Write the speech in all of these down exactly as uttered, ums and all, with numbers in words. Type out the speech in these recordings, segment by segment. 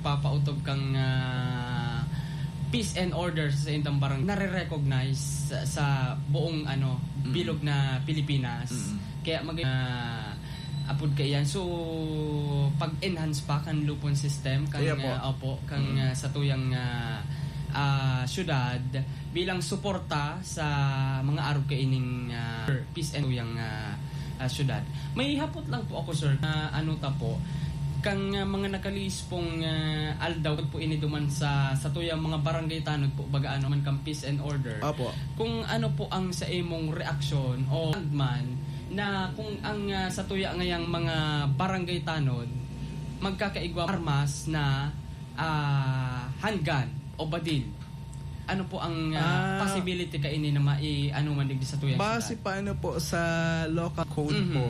papautob kang, ah, peace and order sa indang barangay, nare-recognize sa, sa buong, ano, Mm. bilog na Pilipinas. Mm. Kaya mag-, ah, apod kaiyan. So, pag-enhance pa kan lupon system, kan, Kaya po. ah, opo, kan, Mm. ah, satuyang, ah, ah, syudad bilang suporta sa mga arog kaining, ah, peace and satuyang, ah, ah, syudad. May hapot lang po ako, sir, na ano ta po, kang, ah, mga nakalihis pong, ah, aldaw po ini duman sa, satuyang mga barangay tanod po, baga ano man kang peace and order. Opo. Kung ano po ang sa imong reaksyon o man na kung ang, ah, satuya ngayang mga barangay tanod magkakaigwa armas na, ah, handgun o badil. Ano po ang, ah, Ah, possibility kaini na mai-, ano man digdi satuyang base syudad? pa ano po sa local code Mhm. po,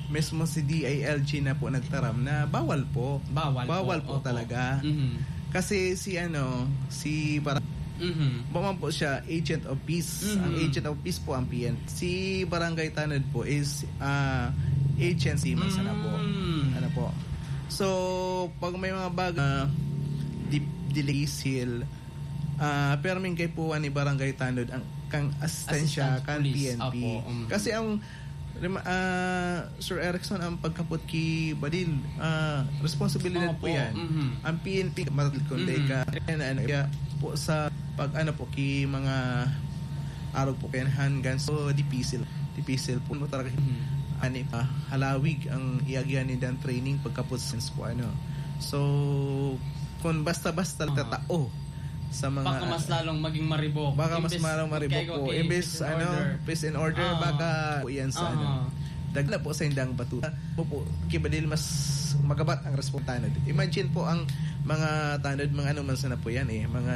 mismo si D I L G na po nagtaram na bawal po. Bawal po. Bawal po Opo. talaga. Mhm. Kasi si ano, si Bar-, Mhm. ba man po siya, agent of peace. Mhm. Ang agent of peace po ang P N P. Si Barangay Tanod po is, ah, agency man sana po. Mm. Ano po? So, pag may mga bagay, ah, di, dilisil, ah, perming kaipuhan ni Barangay Tanod ang kang asistensya Assistance kan police. P N P. Opo, mm. Kasi ang, rema-, ah, Sir Erickson, ang pagkapot ki Badil, ah, responsibilidad Opo, po yan. Mhm. Ang P N P, matatlikon Mhm. ka, ano, ano, kaya po sa pag, ano po, ki mga arog po kayan, handguns, so, dipisil. Dipisil po mo talaga. Mhm. Ani pa, halawig ang iagyan ni dan training pagkapot since po, ano. So, kung basta-basta Aha. tatao sa mga Baka mas lalong maging maribok. Baka mas Imbes lalong maribok kaya po. kay Imbes, peace and ano, order. peace and order, Aha. baka po yan sa, ano. Aha. Dagla po sa indang batuta. Po, po, kibadil mas magabat ang respontanod. Imagine po ang mga tanod, mga ano man sana po yan eh, mga,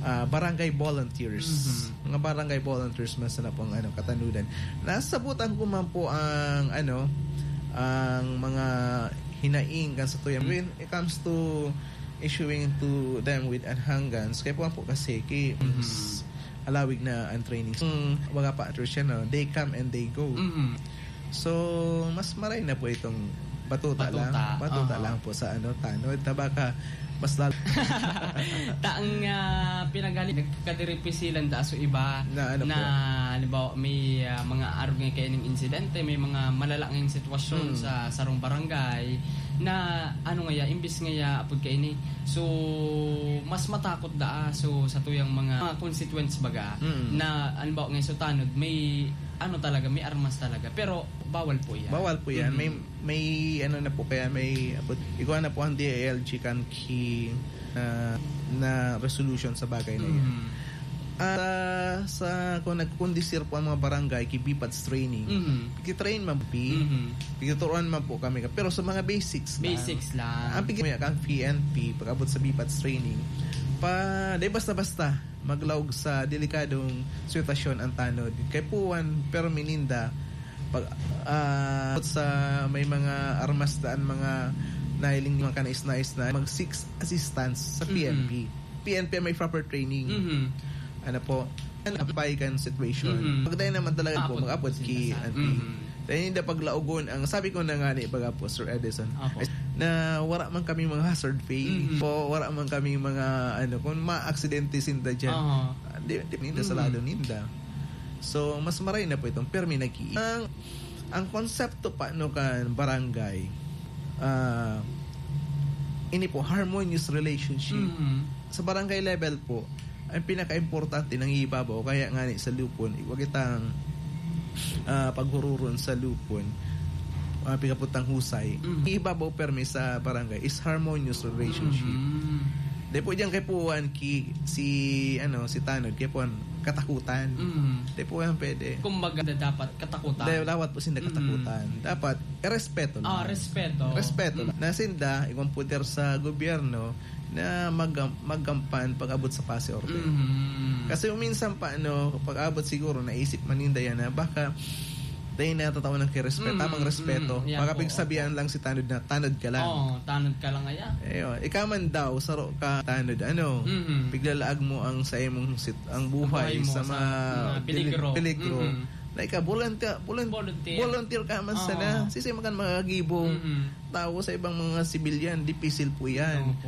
ah, barangay volunteers. Mhm. Mga barangay volunteers man sana po ang, ano, katanudan. Nasabutan ko man po ang, ano, ang mga hinaing kan sa tuyan. Mhm. When it comes to issuing to them with an handguns, kaya po, po kasi ki-, Mhm. s-, halawig na ang training. Kung baga pa, Trish, no, they come and they go. Mhm. So, mas maray na po itong batuta Batuta, lang. Batuta aha. lang po sa ano, tanod. Na baka mas lalo. Taang, ah, pinagaling, nagkakadiripisilan da so iba Na ano na, po? halimbawa, may, ah, mga arog nga kaining insidente, may mga malalaking sitwasyon Hmm. sa sarong barangay na ano ngaya, imbis ngaya, apod kaini. So, mas matakot da, ah, so, sa tuyang mga, mga consequence baga Hmm. na, halimbawa, ngayon, so, tanod, may, ano talaga, may armas talaga. Pero, bawal po yan. Bawal po yan. Mhm. May, may, ano na po kaya, may, abot, igwa na po ang D I L G kan ki, ah, na resolution sa bagay na yan. Mhm. At, ah, sa, kung nagkukondisir po ang mga barangay, ki B PATS training, Mhm. ki-train man po, Mhm. pagtuturuan man po kami. Pero sa mga basics lang. Basics lang. Ang pigi-, kan P N P, pag-abot sa B PATS training, pa, di basta-basta maglaog sa delikadong sitwasyon ang tanod. Kay puwan, pero mininda, pag, ah, sa may mga armas daan, mga nahiling, mga kanais-nais na mag-seek assistance sa Mm-mm. P N P. P N P may proper training. Mm-hmm. Ano po? Ano, apply kan situation. Mm-hmm. Pag tayo naman talaga po, Abot mag-abot sa ki sinasabi. N P. Mm-hmm. Tayo hindi paglaogon. Ang sabi ko na nga ni baga po, Sir Edison, Apo. na wala man kami mga hazard pay. Mm-hmm. Po, wala man kami mga, ano, kung ma-aksidente sinda dyan. Aha. Ah, di, di ninda Mm-hmm. salado ninda. So, mas maray na po itong permi nag-i-, ang, ang konsepto pa, no, kan barangay, ah, ini po, harmonious relationship. Mm-hmm. Sa barangay level po, ang pinaka-importante, nangibabaw, kaya nga ni sa lupon, wag itang, ah, paghururon sa lupon, ah, pigaputang husay. Mm-hmm. Ibabaw permi sa barangay is harmonious relationship. Mm-hmm. Di po diyan kay puwan ki, si, ano, si Tanod, kay puwan, katakutan. Mm-hmm. Di po yan pwede. Kumbaga, dapat katakutan. Dahil dapat po sinda Mm-hmm. katakutan. Dapat, eh, respeto Ah, lang. respeto. Respeto lang. Mm. Na sinda, igwang poder sa gobyerno na mag-, magkampan pag-abot sa pasi order. Mm-hmm. Kasi minsan pa, ano, pag-abot siguro, naisip man ninda yan na baka dahil natatao ng kirespeto, Mm, tamang respeto. mm, yan Baka po, pigsabihan opo. lang si Tanod na, "Tanod ka lang." Oo, tanod ka lang, aya. Ayun. Ikaw man daw, saro ka, Tanod, ano, Mm-hmm. piglalaag mo ang sa imong sit-, ang buhay Buhay mo sa sa mga mga pili-, peligro. peligro. Mm-hmm. Na ikaw, volunteer, volun-, Volunteer. volunteer ka man Oo. sana. Sisi man kan mga gibo. Mm-hmm. Tao sa ibang mga sibilyan, dipisil po yan. Opo.